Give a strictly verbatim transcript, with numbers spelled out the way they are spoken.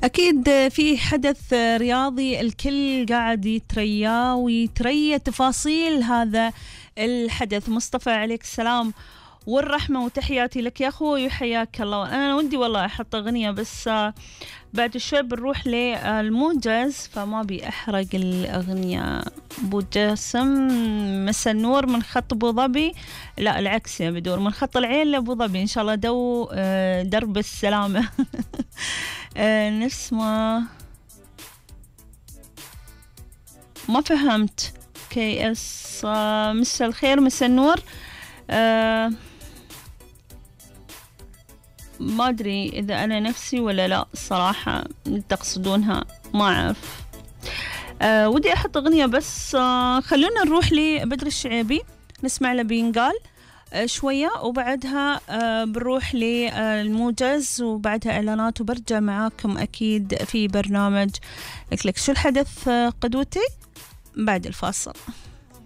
أكيد في حدث رياضي الكل قاعد يترياه ويتريى تفاصيل هذا الحدث. مصطفى عليك السلام والرحمة وتحياتي لك يا أخوي وحياك الله. أنا ودي والله أحط أغنية بس بعد شوي بنروح للموجز فما بي أحرق الأغنية. أبو جاسم مسا النور من خط أبو ظبي، لا العكس يا بدور، من خط العين لأبو ظبي إن شاء الله دو درب السلامة. نسمع ما فهمت كي اس. مسا الخير مسا النور. أه ما أدري إذا أنا نفسي ولا لا الصراحة تقصدونها ما أعرف. أه ودي أحط أغنية بس أه خلونا نروح لبدر الشعيبي نسمع له بينقال أه شوية وبعدها أه بنروح للموجز وبعدها إعلانات وبرجع معاكم أكيد في برنامج لك لك شو الحدث. أه قدوتي بعد الفاصل.